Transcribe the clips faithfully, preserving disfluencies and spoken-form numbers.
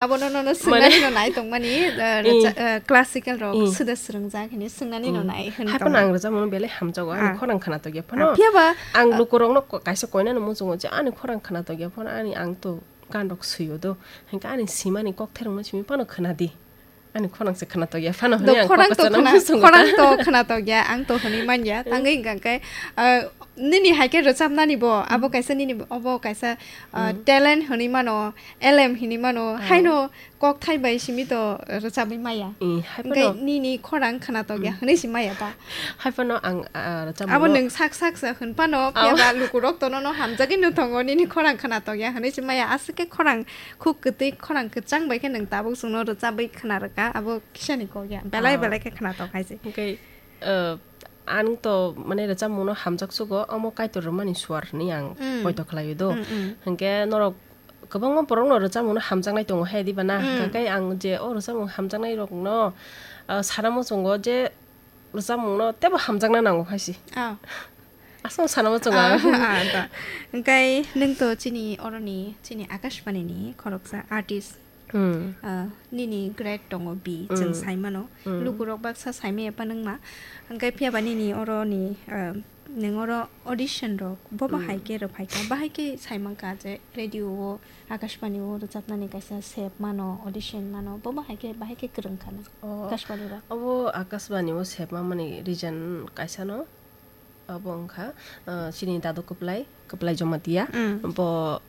Abono nono Mane- swngnani no nai tongmani, uh, I. recha-, uh, classical rok I. suda swrwngjak hini swngnani no Mm. nai hwn Hai tongmani. Phano ang rwchapmung belai hamjago, ani Ah. khorang khwna tokya Ah, phano. Phiya ba, Ang uh, lukurokno ko-, kaisa koinano muchungo je ani khorang khwna tokya phano, ani ang to gan rok swio do. Hinkhe ani simani kokthairokno simi phano khwna di. Ani khorang se khwna tokya phano Do hwnwi ang khorang kok to kwchangno khwna, muchungo khorang ta. to khwna tokya, ang to hwnwi manya. Mm. Tangwi hwnkha khe, uh, nini hai khe rwchapnani bo, abo Mm. kaisa nini bo, obo kaisa, uh, Mm. talent hwnwi mano, L M hinwi mano, Oh. haino kokthai bai simi to rwchabwi maya. Eh, hai Hwnkhe phano. nini khorang khwna tokya Mm. hwnwi si maya ba. Hai phano ang, ah, rwchapmung Abo no nwng sak sak sa hwn phano, Aw. phiya ba lukurok to nono hamjagwi no tongo, nini khorang khwna tokya hwnwi si maya. Aswk khe khorang khuk kwtwi, khorang kwchang bai khe nwng tabuk chwngno rwchabwi khwna rwkha, abo kisani kokya. Belai Aw. belai khe khwna tok hai se. Hwnkhe, eh, ang to mane rwchapmung no hamjak sugo, omo Kaitor rwmani suar hwnwi ang Mm. poito khlaio do. Mm, mm. Hwnkhe norok kwbangma borokno rwchapmungno hamjaknai tongo he diba na? Mm. Hwnkhe ang je o rwchapmung hamjaknai rokno, ah, sana muchungo je rwchapmungno teibo hamjakna nango hai se. Ah. Aswk sana muchungo Ah, ang. ah, ta. Hwnkhe nwng to chini oroni, chini Akashbani ni khoroksa artist. Hmm. Ah, nini grade tongo B, chwng Hmm. saimano. Hmm. Lukurok baksa saimaya phano wngma. Hwnkhe phiya ba nini oroni, ah, Nwng oro audition rok bo bahai Hmm. khe rwphai kha, bahai khe sai mankha je radio o, Akashbani o rwchapnani kaisa sep mano, audition mano, bo bahai khe, bahai khe kwrwng kha nang Oh, Akashbani rok? Obo Akashbani o sep mamani reason kaisa no, obo wngkha, ah, chini dadu kwplai, Kwplai Jamatia, Mm. bo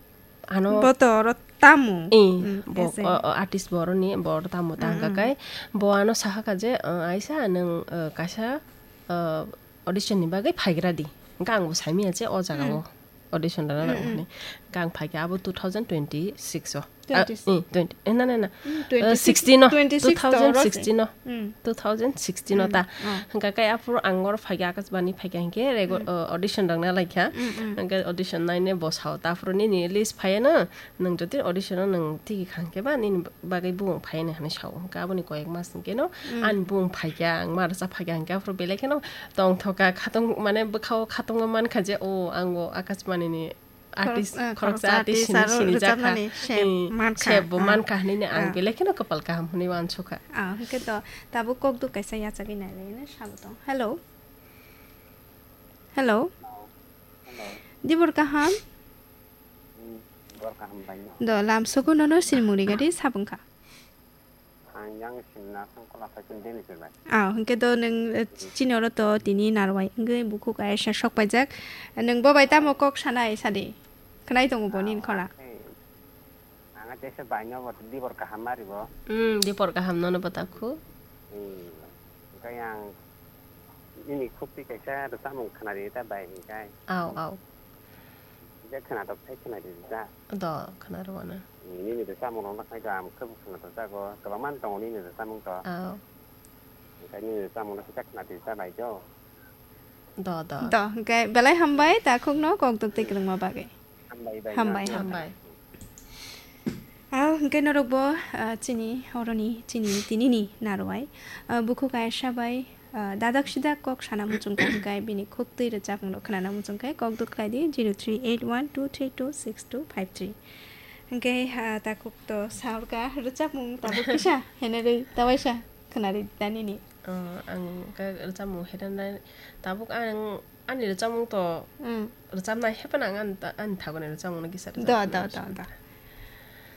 ano Bo to oro tamo. Eh, Mm, bo, ese. o, o, artist bo oroni, bo oro tamo ta Mm, hwnkha mm. Kai, bo ano saha kha je, ah, Aisa, nwng, ah, kaisa, ah, audition ni bagwi phaigra di. Hwnkhe ang bo saimanya je o jaga Mm. o audition rwna Mm, nango mm. Hwnwi. Hwnkhe ang phaikha abo two thousand twenty-six o. Ah, Twenty-six. Eh, twenty, eh, na, na, na. Mm, Eh, twenty-six, sixteen o. Twenty-six to oro se. Two thousand sixteen o. Mm. Two thousand sixteen o Mm, ta. Oh. Hwnkhe kai aphuru ang oro phaikha, Akashbani phaikha hwnkhe rego-, Mm. eh, audition rwna laikha. Mm, mm. Hwnkhe audition naine bo sao ta aphuru nini list phaiya na. Nwng jodi audition o nwng tigi kha hwnkhe ba nini bagwi bumung phaiya hinwi sao. Hwnkhe aboni koyek mas hwnkhe no Mm. ani bumung phaikha, ang ma rwchap phaikha hwnkhe aphuru belai kheno tongthokha, khatung, mane bwkhao khatungma mankha je, o, ang o Akashbani ni Khorok-, artist, eh, khoroksa khoroksa artist artist hinwi aro sinijakha. Rwchapnani sep Mm, mankha. Sep bo Ah. Mankha hinwi ang Ah. belai kheno kwpal kaham hinwi uansukha. Ah, hwnkhe to tabuk kokduk kaisa yachagwi nailaiya sabo tong. Hello. Hello. Hello. Dibor kaham? Hmm, dibor kaham bai no. Do lam sogo nono sinimung rigadi sabungkha. Ang yang simna songkol asai kin deni se bai. Ah, hwnkhe do nwng, eh, chini oro to tini narwai wngwi bukhuk Aisha sok paijak. Nwng bo bai tamo kok sanai sadi? Khwnai tongo bo nini khorang? Hey, ang teisa bai no bo dibor kaham mari bo. Hmm, dibor kaham nono bo takhu. Hmm, hwnkhe ang nini khukti kaisa rwchapmung khwnari ta bai hwnkhe. Au, au. Je khwnatok thai khwnari ta. Do, khwnaro ano. Nini rwchapmung rok nakhai do ang khe bo khwnatok jago. Kwbangma tongo nini rwchapmung to. Ao. Hwnkhe nini rwchapmung no kisa khwna di ta bai do. Do, do. Do, hwnkhe belai hambai takhukno kok duk twi kwrwngma bagwi. Hambai bai. Hambai, no. Hambai. Ao, hwnkhe norok bo, ah, chini oroni, chini tinini narwai, ah, bukhuk Aisha bai, Ah, dadak sidak kok sana muchung kha hwnkhe bini khuk twi rwchapmung rok khwnana muchung khe kok duk khlai di zero three eight one two three two six two five three. Hwnkhe, ah, takhuk to saurka rwchapmung tabuk kisa henarwi tawaisa khwnari da nini. Oh, ang khe rwchapmung henarnai tabuk ang ani rwchapmung to Mm. rwchapnai hephano ang ani ta-, ani thagoni rwchapmung no kisa Do, rwchapnai do, do, do.